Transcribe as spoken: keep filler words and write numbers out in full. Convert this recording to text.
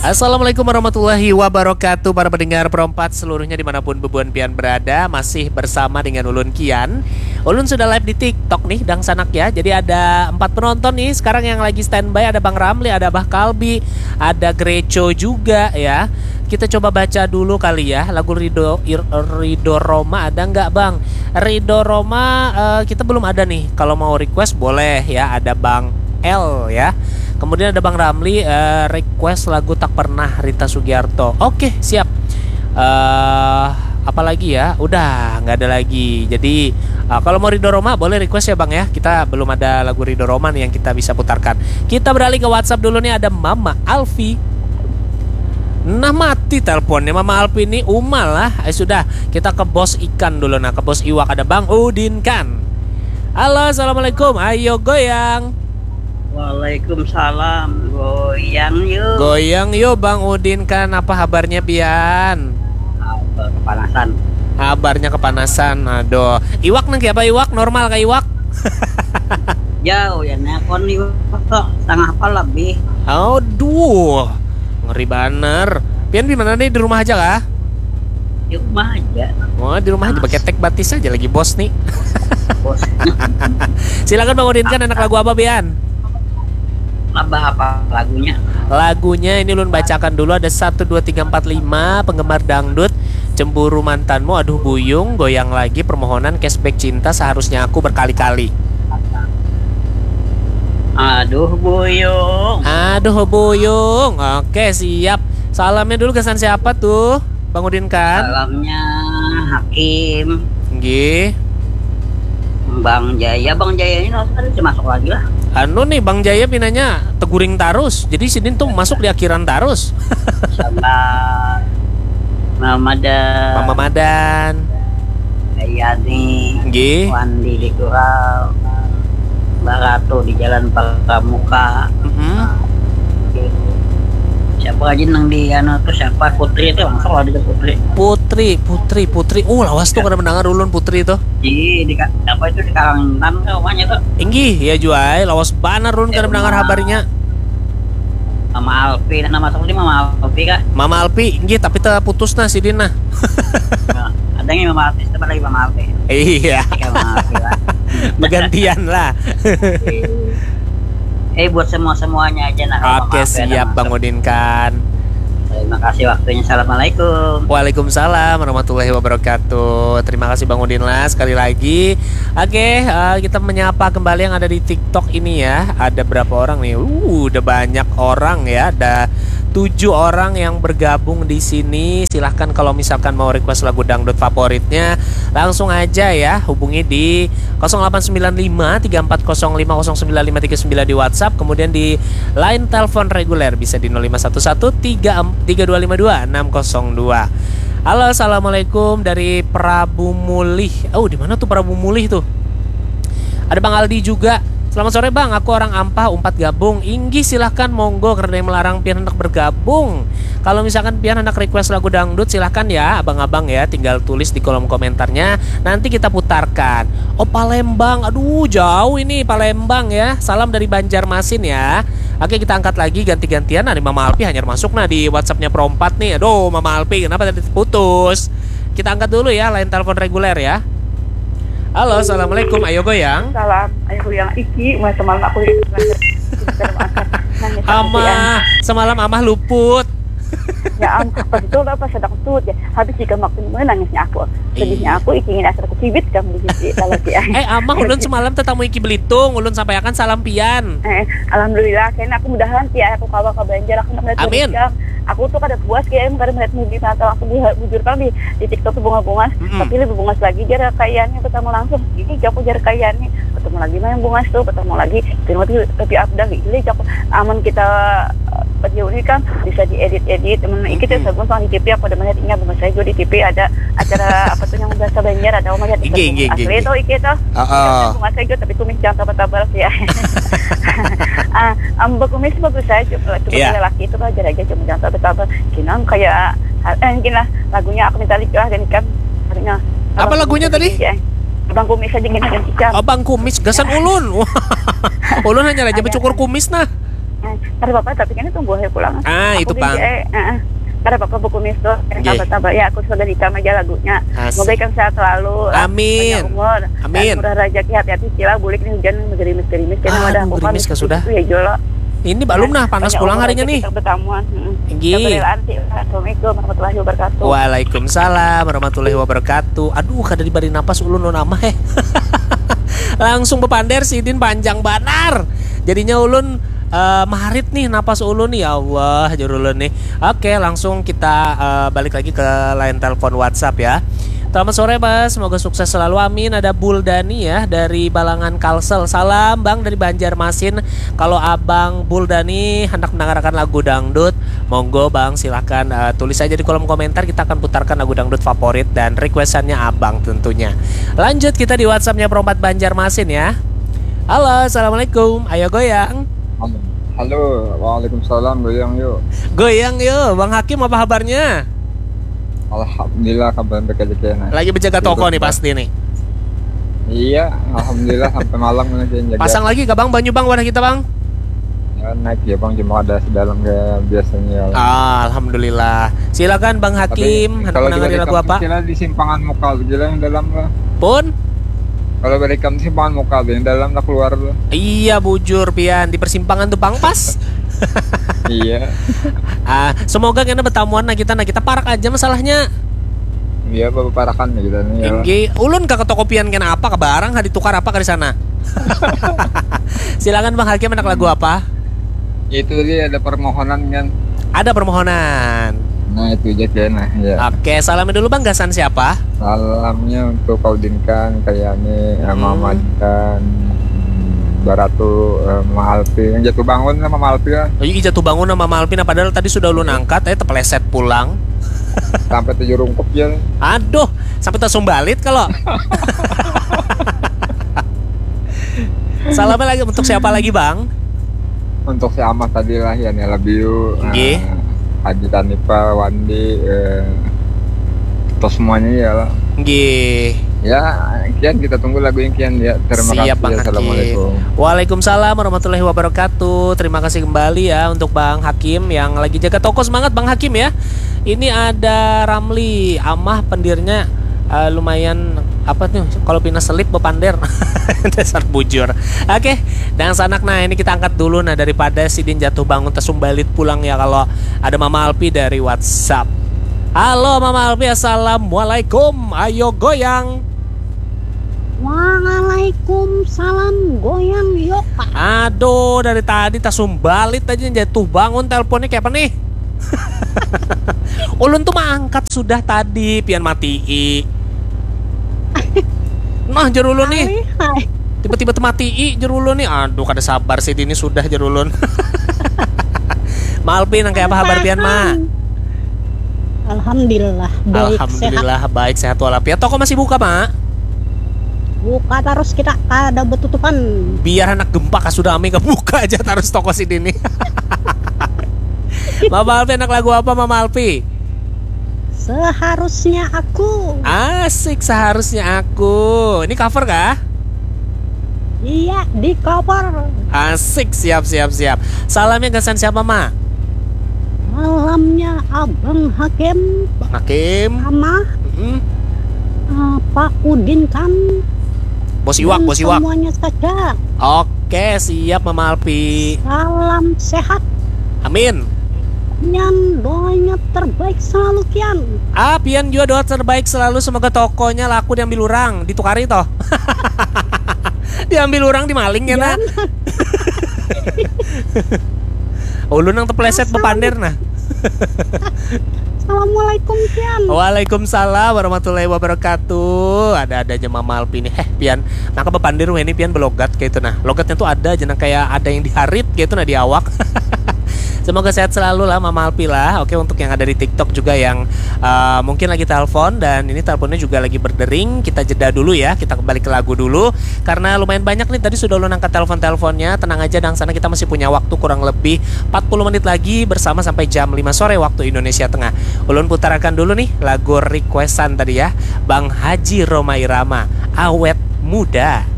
Assalamualaikum warahmatullahi wabarakatuh, para pendengar Perompat seluruhnya dimanapun bebuan pian berada. Masih bersama dengan ulun Kian. Ulun sudah live di TikTok nih, dangsanak ya. Jadi ada empat penonton nih sekarang yang lagi standby. Ada Bang Ramli, ada Abah Kalbi, ada Greco juga ya. Kita coba baca dulu kali ya lagu Ridho, Ir- Ridho Roma, ada nggak, Bang? Ridho Roma, eh, kita belum ada nih. Kalau mau request boleh ya, ada Bang L ya. Kemudian ada Bang Ramli, eh, request lagu Tak Pernah, Rita Sugiarto. Oke, siap. Eh, apalagi ya? Udah, nggak ada lagi. Jadi, eh, kalau mau Ridho Roma boleh request ya, Bang ya. Kita belum ada lagu Ridho Roma nih yang kita bisa putarkan. Kita beralih ke WhatsApp dulu nih, ada Mama Alfi. Nah, mati teleponnya Mama Alfi nih, Uma lah. Eh, sudah, kita ke bos ikan dulu, nah, ke bos iwak, ada Bang Udin kan. Halo, assalamualaikum. Ayo goyang. Waalaikumsalam. Goyang yuk. Goyang yuk, Bang Udin kan. Apa habarnya pian? Apa, kepanasan. Habarnya kepanasan. Aduh. Iwak nang apa, iwak? Normal kah iwak? Jauh ya, nekon iwak kok setengah apa lebih. Aduh. Ngeri banar. Pian di mana nih? Di rumah aja kah? Di rumah aja. Oh, di rumah aja, beketek batis aja lagi, bos nih. Bos. Silakan, Bang Udin kan, anak lagu apa pian? Labah apa lagunya? Lagunya ini ulun bacakan dulu, ada satu dua tiga empat lima penggemar dangdut, Cemburu Mantanmu, Aduh Buyung, Goyang Lagi, Permohonan, Cashback Cinta, Seharusnya Aku, Berkali-kali. Aduh Buyung. Aduh Buyung. Oke, siap. Salamnya dulu kesan siapa tuh? Bang Udin kan? Salamnya Hakim. Nggih. Bang Jaya, Bang Jaya ini langsung tadi masuk lagi lah. Anu nih, Bang Jaya pinanya teguring tarus. Jadi sidin tuh masuk di akhiran tarus. Sama Mama Madan. Mama Madan. Ayani. Nggih. Wandi di Gurau. Baratu di Jalan Pramuka. Mm-mm. Siapa aja nang di anu tuh, siapa, Putri tuh, langsung lah di Putri. Putri, Putri, Putri. Uh, lawas tuh kada mendengar ulun Putri tuh. Di, di ka- apa itu, di Kalimantan ke rumahnya tuh. Inggih, ya juai, lawas banar ulun kada mendengar habarnya. Mama Alpi, nama siapa sih, Mama Alpi kah? Mama Alpi, inggih, tapi terputus nah sidin nah. Nah, ada yang Mama Alpi, siapa lagi Mama Alpi? Iya, Kayak Mama Alpi lah. Bergantian lah. Eh, buat semua semuanya aja nah. Mama Oke, Alpi ada siap, masuk. Bang Udin kan. Terima kasih waktunya. Assalamualaikum. Waalaikumsalam warahmatullahi wabarakatuh. Terima kasih, Bang Udin lah, sekali lagi. Oke, eh, kita menyapa kembali yang ada di TikTok ini ya. Ada berapa orang nih? Uh, udah banyak orang ya. Ada tujuh orang yang bergabung di sini. Silahkan kalau misalkan mau request lagu dangdut favoritnya, langsung aja ya hubungi di kosong delapan sembilan lima tiga empat kosong lima kosong sembilan lima tiga sembilan di WhatsApp, kemudian di line telepon reguler bisa di nol lima satu satu tiga tiga dua lima dua enam kosong dua. Halo, assalamualaikum, dari Prabu Mulih. Oh, di mana tuh Prabu Mulih tuh? Ada Bang Aldi juga. Selamat sore, Bang, aku orang Ampah, umpat gabung. Inggih, silahkan, monggo, karena yang melarang pian hendak bergabung. Kalau misalkan pian hendak request lagu dangdut, silahkan ya, abang-abang ya, tinggal tulis di kolom komentarnya. Nanti kita putarkan. Oh, Palembang, aduh, jauh ini Palembang ya. Salam dari Banjarmasin ya. Oke, kita angkat lagi ganti-gantian. Nah, ini Mama Alpi hanyar masuk nah di WhatsAppnya Perompat nih. Aduh, Mama Alpi, kenapa tadi putus? Kita angkat dulu ya line telepon reguler ya. Halo, assalamualaikum. Ayo goyang. Salam, ayo goyang. Iki, mulai semalam aku nangis. Amah, semalam Amah luput. Ya am, pas itu lah, pas sedang tuh ya. Habis juga makin menangisnya aku. Sedihnya Iya. Aku, iki, ini asal aku kibit kamu di sini kalau sih. Eh, Amah, ulun semalam tetamu Iki Belitung, ulun sampaikan salam pian. Eh, alhamdulillah, kayaknya aku mudahan ya aku kawa ke Banjar, aku melihat Amin. Jam. Aku tuh kada puas kayak kada melihat movie atau aku bu- bujur kan di, di TikTok tuh bunga-bunga, Mm-mm. Tapi lebih bungas lagi jar kayaknya ketemu langsung. Ini aku jar kayaknya ketemu lagi main bungas tuh, ketemu lagi film tuh lebih Abdal, gila, aku aman kita eh, video ini kan bisa diedit-edit. Emang iki tuh Mm-mm. Sagun sama di T V, aku ada melihat ini bungas saya juga di T V ada acara apa tuh yang bahasa Banjar, ada melihat Inggih, inggih, inggih, asli inggih. Tuh iki tuh. Heeh. Bungas saya juga tapi kumis jangan tebal-tebal sih ya. Ah, am, berkumis bagus aja. Coba Iya. Lelaki itu belajar aja cuma jangan tebal-tebal. Kinang kayak eh, gini lah, lagunya aku minta lagi lah dan kan artinya Apa lagunya tadi? Ya. Abang kumis aja gini dan ikan. Abang kumis, gasan ulun. Ulun hanya aja Ada. Becukur kumis nah. Kada apa-apa, tapi kan tunggu aja pulang. Ah, itu pang. Eh, eh, kada apa-apa, buku misto. Nggih. Tambah-tambah ya, aku sudah nikam aja lagunya. Asik. Semoga ikam sehat selalu. Amin. Panjang umur. Amin. Dan murah rezeki, hati-hati cila bulik nih hujan gerimis-gerimis. Kena Ah, wadah aku gerimis kan kah sudah? Itu ya jolo. Ini balum nah, panas Panjang pulang umur harinya aja nih. Kita bertamuan. Heeh. Nggih. Kita berrelaan sih. Assalamualaikum warahmatullahi wabarakatuh. Waalaikumsalam warahmatullahi wabarakatuh. Aduh, kada dibari napas ulun, ulun amah eh. Langsung bepander sidin, panjang banar. Jadinya ulun eh, marit nih napas ulun, ya Allah, jur ulun nih. Oke, langsung kita eh, balik lagi ke line telepon WhatsApp ya. Selamat sore, Bang. Semoga sukses selalu. Amin. Ada Buldani ya dari Balangan Kalsel. Salam, Bang, dari Banjarmasin. Kalau Abang Buldani hendak mendengarkan lagu dangdut, monggo, Bang, silahkan eh, tulis saja di kolom komentar. Kita akan putarkan lagu dangdut favorit dan requestannya Abang tentunya. Lanjut kita di WhatsAppnya Perompat Banjarmasin ya. Halo, assalamualaikum. Ayo goyang. Halo, waalaikumsalam, goyang yuk. Goyang yuk, Bang Hakim, apa kabarnya? Alhamdulillah, kabar baik aja kena. Lagi berjaga toko Hidup, nih Bang. Pasti nih. Iya, alhamdulillah sampai malam nih yang jaga. Pasang lagi kah, Bang, banyu, Bang, wadah kita, Bang? Ya, naik ya, Bang, cuma ada sedalam kayak biasanya. Ah, alhamdulillah. Silakan, Bang Tapi Hakim, hendak kalau menangani dari lagu kampung apa? Sila di simpangan muka aja lah, yang dalam lah. Pun? Kalau dari kampung simpangan muka aja, yang dalam lah keluar lah. Iya, bujur, pian, di persimpangan tuh pang pas. Iya. Ah, semoga kena bertamuan nah kita, nah kita parak aja masalahnya. Iya, baparakan ya kita nih. Ya. Inggih, ulun ka toko pian kena apa, ka barang, ha ditukar apa ka di sana? Silakan, Bang Hakim, anak lagu apa? Itu tadi ada permohonan kan. Ada permohonan. Nah, itu aja kena ya. Oke, salamnya dulu, Bang, gasan siapa? Salamnya untuk Kak Udin kan, Kak Yani, eh, Hmm. Mama dan Baratu, eh, Mama Alpi. Yang jatuh bangun lah Mama Alpi lah. Oh, iya, jatuh bangun sama Malvin, padahal tadi sudah ulun angkat, eh, tepeleset pulang. Sampai tujuh rungkup ya. Aduh, sampai tasumbalit kalau. Salamnya lagi untuk siapa lagi, Bang? Untuk si Amah tadi lah ya, I love you. Nggih. Eh, Haji Tanipa, Wandi, eh, terus semuanya ya lah. Nggih. Ya, kian kita tunggu lagu yang kian ya. Terima Siap, kasih. Bang Hakim. Assalamualaikum. Waalaikumsalam warahmatullahi wabarakatuh. Terima kasih kembali ya untuk Bang Hakim yang lagi jaga toko. Semangat, Bang Hakim, ya. Ini ada Ramli, Amah pendirnya eh, lumayan apa tuh, kalau pina selip bepander. Dasar bujur. Oke, dan sanak, nah, ini kita angkat dulu, nah, daripada sidin jatuh bangun tasumbalit pulang ya kalau ada Mama Alpi dari WhatsApp. Halo Mama Alpi, assalamualaikum. Ayo goyang. Waalaikumsalam, goyang yuk, Pak. Aduh, dari tadi tasumbalit aja, jatuh bangun teleponnya kayak apa nih? Ulun tuh mah angkat sudah tadi, pian matii. Nah, jar ulun nih. Hai, hai. Tiba-tiba tuh matii, jar ulun nih. Aduh, kada sabar sih, ini sudah, jar ulun. Malpi, nang kayak apa kabar pian, Ma? Alhamdulillah, baik, sehat. Alhamdulillah, baik, sehat walafiat. Toko masih buka, Ma? Buka terus kita, kada betutupan. Biar anak gempa kah sudah, ami buka aja terus toko sidin nih. Mama Alpi, anak lagu apa, Mama Alpi? Seharusnya aku. Asik, seharusnya aku. Ini cover kah? Iya, di cover. Asik, siap, siap, siap. Salamnya gasan siapa, Ma? Salamnya Abang Hakim, Bang Hakim. Amah, Mm-mm. eh, Pak Udin kan. Bos Iwak, Dan Bos Iwak. Semuanya saja. Oke, siap, Mama Alpi. Salam sehat. Amin. Kian, doanya terbaik selalu, Kian. Ah, pian juga doa terbaik selalu, semoga tokonya laku diambil orang, ditukari toh. Diambil orang, dimaling ya, nak. Ulun nang tepleset bepander nah. Assalamualaikum, Kian. Waalaikumsalam warahmatullahi wabarakatuh. Ada-ada aja Mama Alpi nih. Heh, pian, maka bepander weh ini, pian belogat kayak itu nah. Logatnya tuh ada aja, nah, kayak ada yang diharit kayak itu nah di awak. Semoga sehat selalu lah Mama Alpi lah. Oke, untuk yang ada di TikTok juga yang uh, mungkin lagi telepon dan ini teleponnya juga lagi berdering, kita jeda dulu ya. Kita kembali ke lagu dulu karena lumayan banyak nih tadi sudah ulun angkat telepon-teleponnya. Tenang aja, dang sana, kita masih punya waktu kurang lebih empat puluh menit lagi bersama sampai jam lima sore waktu Indonesia Tengah. Ulun putarakan dulu nih lagu requestan tadi ya, Bang Haji Rhoma Irama, Awet Muda.